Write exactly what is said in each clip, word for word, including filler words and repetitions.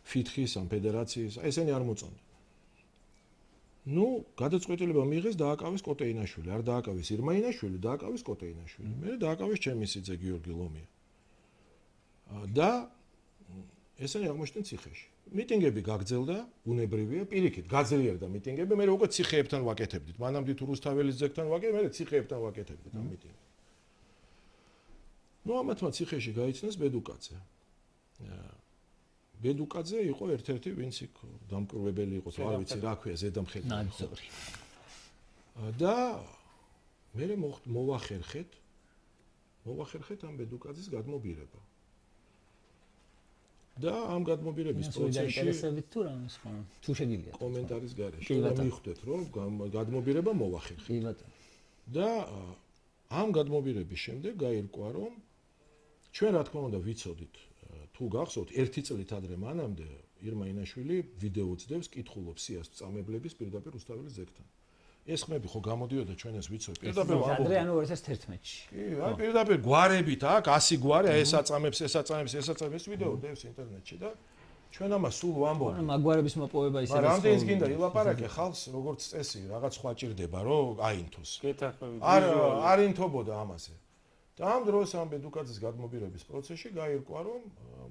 ფითხის ან ფედერაციის, ესენი არ მოწონდა. ნუ, გადაწყვეტილება მიიღეს დააკავეს კოტეინაშვილი, არ დააკავეს ირმაინაშვილი, დააკავეს კოტეინაშვილი. მე დააკავეს ჩემისიძე გიორგი ლომია. და ესენი აღმოჩნდნენ ციხეში. მიტინგები გაგრძელდა, ბუნებრივია, პირიქით, გაძლიერდა მიტინგები, მე უკვე ციხეებთან ვაკეთებდით. მანამდე თუ რუსთაველის ძეგლთან ვაკეთებდით, მე ციხეებთან ვაკეთებდით ამ მიტინგებს. ნუ ამათმა ციხეში გაიცნეს ბედუკაძე. ბედუკაძე იყო ერთ-ერთი ვინც იქ დამკვირვებელი იყო, არ ვიცი რა ქვია, ზედამხედი. ნაძორი. და მე მოვახერხეთ, მოვახერხეთ ამ ბედუკაძის გადმობირება. და ამ გადმობირების პროცესში ინტერესებით თუ რამე სხვა თუ შეგიძლიათ კომენტარის გარეშე მიხვდეთ რომ გადმობირება მოვახერხეთ. კი ბატონო. და ამ გადმობირების შემდეგ გაირკვა რომ ჩვენ რა თქმა უნდა ვიცოდით თუ გახსოვთ ერთი წლით ადრე მანამდე ირმაინაშვილი ვიდეო წდევს კითხულობს სიას წამებლების პირდაპირ რუსთაველის ძეგლთან. ეს ხმები ხო გამოდიოდა ჩვენ ეს ვიცოდი პირდაპირ ადრე ანუ ორი ათას თერთმეტში. კი, აი პირდაპირ გვარებით აქ ასი გვარი, აი ეს აწამებს, ეს აწამებს, ეს აწამებს ვიდეო დევს ინტერნეტში და ჩვენ ამას სულ ვამბობთ. ანუ მაგვარების მოპოვება ისე მაგრამ რამდენიც გინდა ილაპარაკე ხალხს როგორც წესი რაღაც სხვა ჭირდება რომ აინთოს. გეთახმებით. არ არ ინთობოდა ამაზე. და ამ დროს ამ ბედუკაძის გადმობირების პროცესში გაირკვა რომ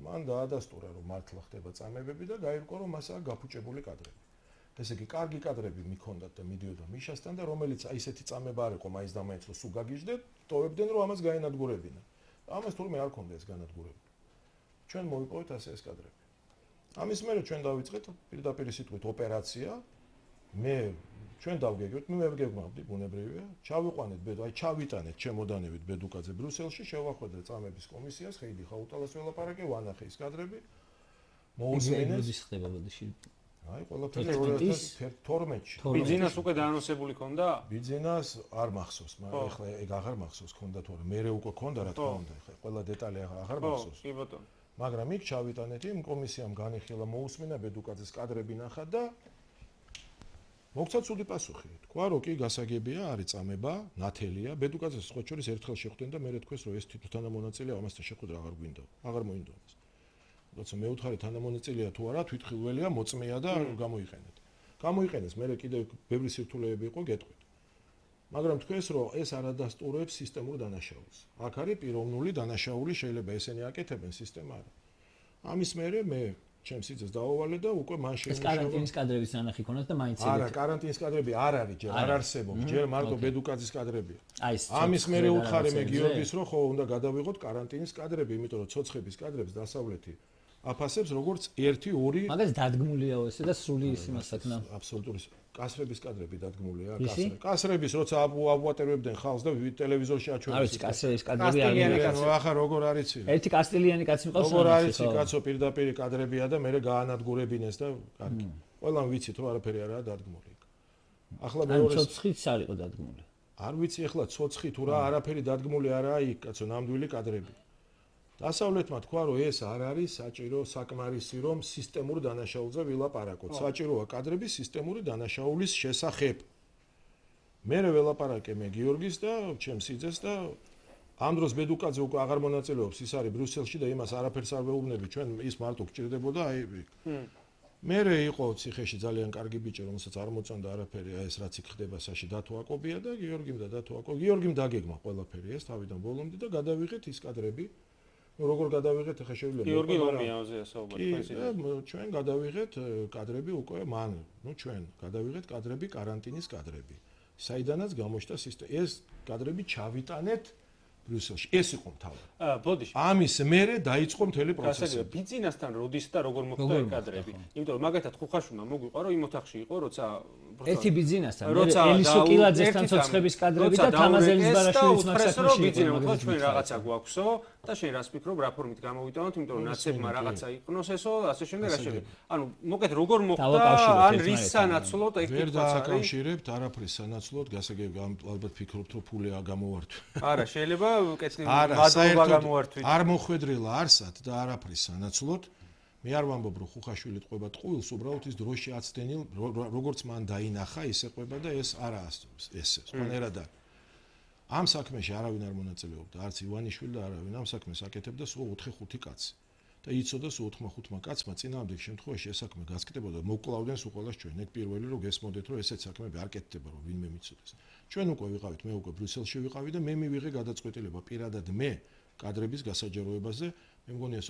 მან დაადასტურა რომ მართლა ხდება წამებები და გაირკვა რომ მასაა გაფუჭებული კადრები. ესე იგი, კარგი კადრები მიქონდათ და მიდიოდა მიშასთან და რომელიც აი ესეთი წამება არ იყო მაინც და მაინც რომ სულ გაგიჟდეთ, ტოვებდნენ რომ ამას გაენადგურებინა. ამას თურმე არ ქონდა ეს განადგურებული. ჩვენ მოვიპოვეთ ასე ეს კადრები. ამის მერე ჩვენ დავიწყეთ პირდაპირ სიტყვით ოპერაცია. მე ჩვენ დავგეგმეთ, მე ვგეგმავდი ბუნებრივია, ჩავიყვანეთ ბედო, აი ჩავიტანეთ ჩემოდანებით ბედუკაძე ბრიუსელში, შევახვედრე წამების კომისიას, ხეიდი ხაუტალას ველაპარაკე, ვანახე ის კადრები. მოუსმინეს ის ხდება ბოდიში. აი ყველაფერი ორი ათას თორმეტში. ბიძინას უკვე დაანონსებული ქონდა? ბიძინას არ მახსოვს, მაგრამ ეხლა ეგ აღარ მახსოვს ქონდა თორე მე უკვე ქონდა რა თქმა უნდა, ეხლა ყველა დეტალი აღარ მახსოვს. კი ბატონო. მაგრამ იქ ჩავიტანეთ იმ კომისიამ განიხილა მოусმინა ბედუკაძის კადრები ნახა და მოგცა ცუდი პასუხი. თქვა რომ კი გასაგებია, არის წამება, ნათელია, ბედუკაძეს სხვა შორის ერთხელ შეხვდნენ და მე თქვეს რომ ეს თვითონ თანამონაწილეა, ამასთან შეხვედრა აღარ გვინდა. აღარ მოინდო ამას. როცა მეუთხარი თანამონაწილეა თუ არა, თვითხილველია, მოწმეა და გამოიყენეთ. გამოიყენეს, მე კიდევ ბევრი სირთულეები იყო გეტყვით. მაგრამ თქვენს რომ ეს არ ადასტურებს სისტემურ დანაშაულს. აქ არის პიროვნული დანაშაული, შეიძლება ესენი აკეთებენ, სისტემა არა. ამის მერე მე ჩემს სიძეს დავავალე და უკვე მან შეიმუშავა. ეს კარანტინის კადრების ნანახი ქონათ და მაინც ეგეთ. არა, კარანტინის კადრები არ არის, ჯერ არ არსებობს, ჯერ მარტო ბედუკაძის კადრებია. აი ეს. ამის მერე უთხარი მე გიორგის რომ ხო უნდა გადავიღოთ კარანტინის კადრები, იმიტომ რომ ცოცხების კადრებს დასავლეთი აფასებს როგორც ერთი ორი მაგას დადგმულია ესე და სრული ის იმასაკნა. აბსოლუტური კასრების კადრები დადგმულია, კასრები. კასრების როცა აბუატერებდნენ ხალხს და ტელევიზორში აჩვენეს. არის კასრების კადრები არის. ახლა როგორ არიცი? ერთი კასტილიანი კაცი მყავს. როგორ არიცი კაცო პირდაპირ კადრებია და მე გაანადგურებინეს და კარგი. ყველამ ვიცით რომ არაფერი არაა დადგმული. ახლა მეორე ცოცხიც არ იყო დადგმული. არ ვიცი ახლა ცოცხი თუ რა არაფერი დადგმული არაა იქ კაცო ნამდვილი კადრები. დასავლეთმა თქვა რომ ეს არ არის საჭირო საკმარისი რომ სისტემურ დანაშაულზე ვილაპარაკოთ. საჭიროა კადრების სისტემური დანაშაულის შესახებ. მე ველაპარაკე მე გიორგის და ჩემს სიძეს და ამ დროს ბედუკაძე უკვე აღარ მონაწილეობს, ის არის ბრიუსელში და იმას არაფერს არ ვეუბნები, ჩვენ ის მარტო გჭირდებოდა აი მე იყო ციხეში ძალიან კარგი ბიჭი, რომელსაც არ მოწონდა არაფერი, აი ეს რაც იქ ხდება საში დათოაკობია და გიორგიმ და დათოაკო. გიორგიმ დაგეგმა ყველაფერი ეს თავიდან ბოლომდე და გადავიღეთ ის კადრები. ნუ როგორ გადავიღეთ ახლა შეგვიძლია გიორგი ლომიაოზე საუბარი პრეზიდენტი. ჩვენ გადავიღეთ კადრები უკვე მან, ნუ ჩვენ გადავიღეთ კადრები კარანტინის კადრები. საიდანაც გამოჩნდა სისტემა. ეს კადრები ჩავიტანეთ ბრიუსელში. ეს იყო მთავარი. აა, ბოდიში. ამის მერე დაიწყო მთელი პროცესი. ბიძინასთან როდის და როგორ მოხდა ეს კადრები? იმიტომ რომ მაგათად ხუხაშუნა მოგვიყვა რომ იმ ოთახში იყო, როცა ერთი ბიძინასთან, ელისო კილაძესთან ცოცხების კადრები და თამაზელის ბარაშვილის მაქსაკში. ბიძინა მოთხოვა ჩვენ რაღაცა გვაქვსო და შენ რას ფიქრობ რა ფორმით გამოვიტანოთ, იმიტომ რომ ნაცებმა რაღაცა იყვნოს ესო, ასე შემდეგ ასე შემდეგ. ანუ მოკეთ როგორ მოხდა ან რის სანაცვლოდ ეგ კითხვაც არის. ვერ დააკავშირებთ არაფრის სანაცვლოდ, გასაგები ალბათ ფიქრობთ რომ ფული გამოვართვით. არა, შეიძლება კეთილი მადლობა გამოვართვით. არ მოხვედრილა არსად და არაფრის სანაცვლოდ. მე არ ვამბობ რომ ხუხაშვილი ტყვება ტყუილს, უბრალოდ ის დროში აცდენილ როგორც მან დაინახა, ისე ყვება და ეს არა ესე. სხვანაირად არის. ამ საქმეში არავინ არ მონაწილეობდა, არც ივანიშვილი და არავინ ამ საქმეს აკეთებდა სულ ოთხი ხუთი კაცი. და იცოდა სულ ოთხ-ხუთმა კაცმა წინააღმდეგ შემთხვევაში ეს საქმე გასკდებოდა და მოკლავდნენ სულ ყველას ჩვენ. ეგ პირველი რომ გესმოდეთ რომ ესეც საქმეები არ კეთდება რომ ვინმე მიცოდეს. ჩვენ უკვე ვიყავით, მე უკვე ბრიუსელში ვიყავი და მე მივიღე გადაწყვეტილება პირადად მე კადრების გასაჯაროებაზე. მე მგონია